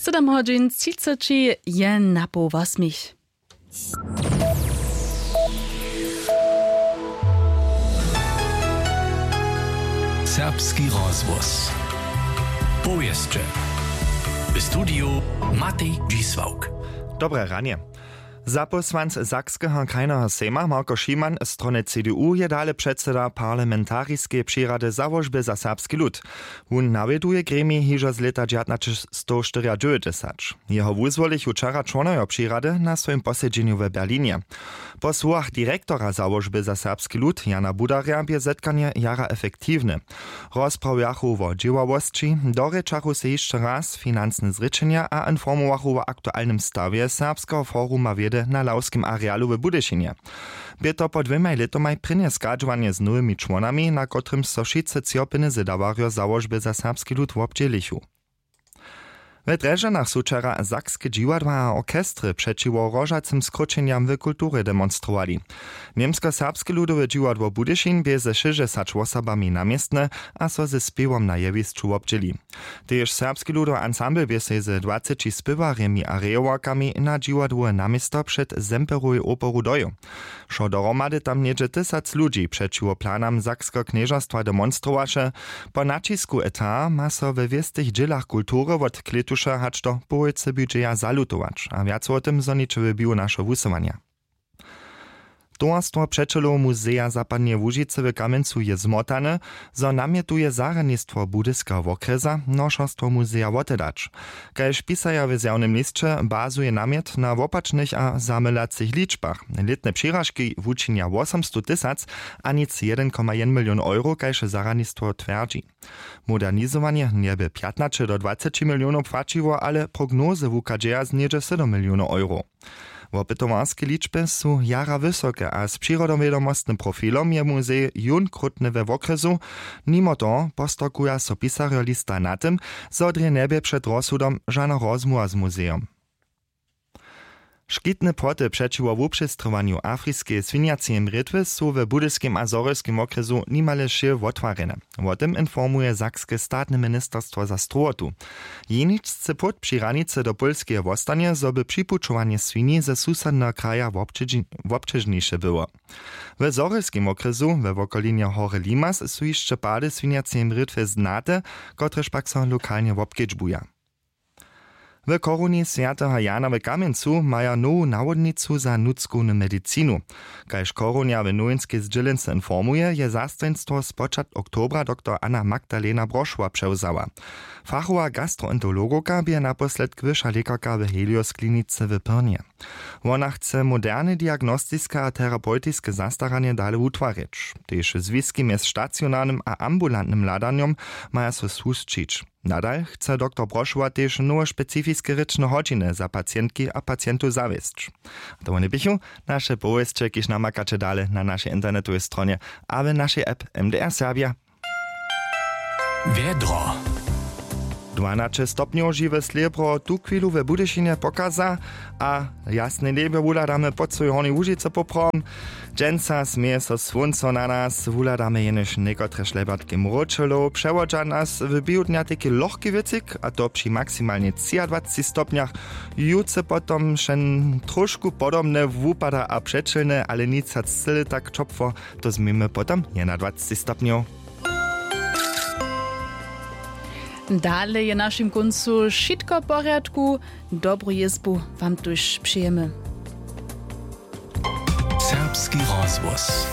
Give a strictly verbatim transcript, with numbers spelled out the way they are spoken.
Sydom hodźin třiceći je na poł wosmich. Serbski rozhłos. Powěsće. W studiju Matej Dźisławk. Dobre ranje. Zapósłanc Sakskeho krajneho sejma Marko Šiman z strony C D U je dale předseda parlamentariskeje přirady Załožby za serbski lud. Wón nawjeduje gremij hižo z lěta dźewjatnaćestowštyriadźewjećdźesat. Jeho wuzwolichu wčera čłonojo přirady na swojim posedźenju w Berlinje. Po słowach direktora Załožby za serbski lud Jana Budarja bě zetkanje jara efektiwne. Rozprawjachu wo dźěławosći, dorěčachu sej hišće raz financne zrěčenja a informowachu wo aktualnym stawje Serbskeho foruma wědy na Lawskim arealu w Budyšinje. Bě to po dwěmaj lětomaj prěnje schadźowanje z nowymi čłonami, na kotrymž so wšitcy třopiny zedawarjo Załožby za serbski lud wobdźělichu. We Drježdźanach su wčera sakske dźiwadła a orchestry přećiwo hrožacym skróćenjam w kulturje demonstrowali. Němskoserbske ludowe dźiwadło Budyšin bě ze šěsćdźesać wosobami naměstne a so ze spěwom na jewišću wobdźěli. Tež serbski ludowy ansambl bě sej ze dwaceći spěwarjemi a rejowarkami na dźiwadłowe naměsto před Semperowej operu dojěł. Wšo dohromady tam něhdźe tysac ludźi přećiwo planam Sakskeho knježerstwa demonstrowaše. Po naćisku eta ma so we wěstych dźělach kultury wot klětuša hač do połojcy budźeja zalutować a wjace wo tym zhoniće w běhu našeho wusyłanja. Towarstwo přećelow muzeja zapadneje łužicy w kamjencu je zmotane, zo namjetuje zarjadnistwo budyskeho wokrjesa nošerstwo muzeja wotedać. Kaž pisaja w zjawnym lisće, bazuje namjet na wopačnych a zamylacych ličbach. Lětne přiražki wučinja wosomstow tysac a nic jedyn koma jedyn milion euro, kaž zarjadnistwo twjerdźi. Modernizowanje njeby pjatnaće do dwaceći milionow płaćiło, ale prognozy wuchadźeja z něhdźe sydom milionow euro. Wopytowarske ličby su jara wysoke a z přirodowědomostnym profilom je muzej jón krótny we wokrjesu. Nimo toho postokuja so pisarjo lista na tym, zo drje njebě před rozsudom žana rozmołwa z muzejom. Škitne płoty přećiwo wupřestrowaniu afriskeje swinjaceje mrětwy su w budyskim a zhorjelskim wokrjesu nimale wšě wotwarjene. Wo tym informuje sakske statne ministerstwo za strowotu. Jeničsce płót při hranicy do pólskeje wostanje, zo by připućowanje swini ze susedneho kraja wobćežniše było. W zhorjelskim wokrjesu we wokolinje hory limas su hišće pady swinjaceje mrětwy znate, kotrež pak so lokalnje wobkedźbuja. W choruni swjateho jana w kamjencu maja nowu nawodnicu za nutřkownu medicinu. Kaž chorunja w nowinskej zdźělence informuje, je zastojnstwo spočatk oktobra doktor anna magdalena brošła přewzała. Fachowa gastroenterologowka bě naposledk wyša lěkarka w helios klinice w pyrnje. Wona chce moderne diagnostiske a terapewtiske zastaranje dale wutwarić. Tež zwiski mjez stacionarnym a ambulantnym hladanjom maja so słušćić. Nadal chce doktor brošowa tež nowe specifiske rěčne hodźiny za pacientki a pacientow zawěsć. To wone běchu naše powěsće, kiž namakaće dale na našej internetowej stronje a w našej app. M D R Serbia. Wjedro. Dwanaće stopnjow žiwe slěbro tuchwilu we budyšinje pokaza, a jasne njebjo wuhladamy pod swojej hornjej łužicy poprawom. Dźensa směje so słónco na nas, wuhladamy jenož někotre šlebjatki mróčelow, přewodźa nas w běhu dnja teki lochki wětřik, a to při maksimalnje třiadwaceći stopnjach. Jutře potom wšeń tróšku podobne wupada a přećelne, ale nic hač cyle tak ćopło. To změjmy potom jedynadwaceći stopnjow. Dale je w našim kóncu wšitko w porjadku. Dobru jězbu wam tuž přejemy. Serbski rozhłos.